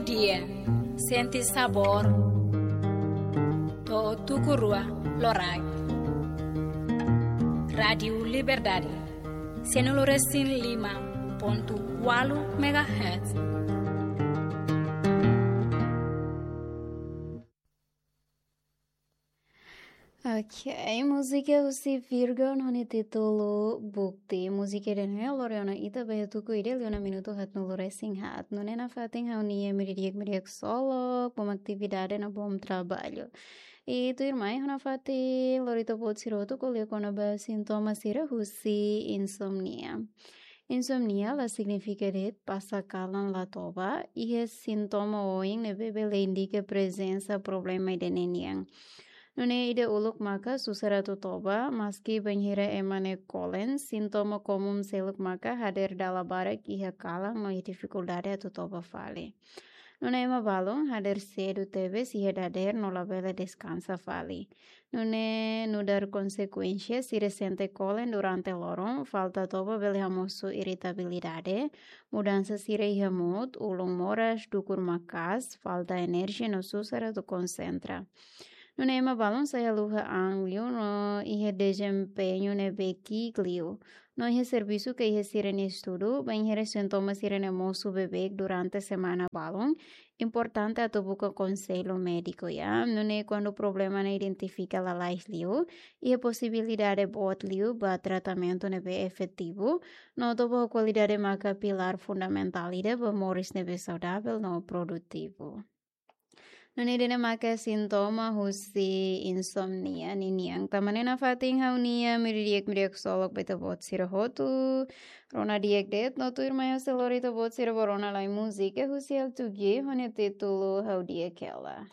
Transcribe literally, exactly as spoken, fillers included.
Dia, sente sabór. To'o tuku rua loraik. Rádiu Liberdade, sianulu resin lima pontu ualu megahertz. Ok, múzika husi Virgo no nia títulu Bukti. Múzika ida-ne'e lori ona ita ba iha tuku ida liu ona minutu haatnulu resin haat. Nune'e nafatin ha'u-nia imi di'ak, imi di'ak ksolok, bom atividade no bom traballu. I tuirmai ha'u nafatin lori ita-boot sira hotu ko'alia kona-ba sintoma sira husi insomnia. Insomnia la signifika de'it pasa kalan la toba, iha sintoma oioin ne'ebé bele indika prezensa problema ida-ne'e nian. Nune'e ida uluk maka susar atu toba, maski bainhira ema ne'e kolen, sintoma komún seluk maka hadeer dala barak iha kalan no iha difikuldade atu toba fali. Nune'e ema balun hadeer sedu tebes iha dadeer no labele deskansa fali. Nune'e nu'udar konsekuénsia, sira sente kolen durante loron, falta toba bele hamosu iritabilidade, mudansa sira iha mood, ulun moras, dukur maka'as, falta enerjia no susar atu konsentra. Nune'e ema balun sai haluha an liu no iha dezempeñu ne'ebé ki'ik liu. No iha servisu ka iha sira-nia estudu, bainhira sintoma sira-ne'e mosu beibeik durante semana balun, importante atu buka konsellu médiku ya. Nune'e kuandu problema ne'e identifika lalais liu, iha posibilidade boot liu ba tratamentu ne'ebé efetivu, no toba ho kualidade maka pilár fundamentál ida ba moris ne'ebé saudavel no produtivu. Nune'e ida-ne'e maka sintoma husi insomnia ninian. Tanba ne'e nafatin ha'u-nia imi di'ak, imi di'ak ksolok ba ita-boot sira hotu. Rona di'ak de'it no tuirmai ha'u sei lori ita-boot sira ba rona lai múzika husi Altu G ho nia títulu Ha'u Di'ak Hela.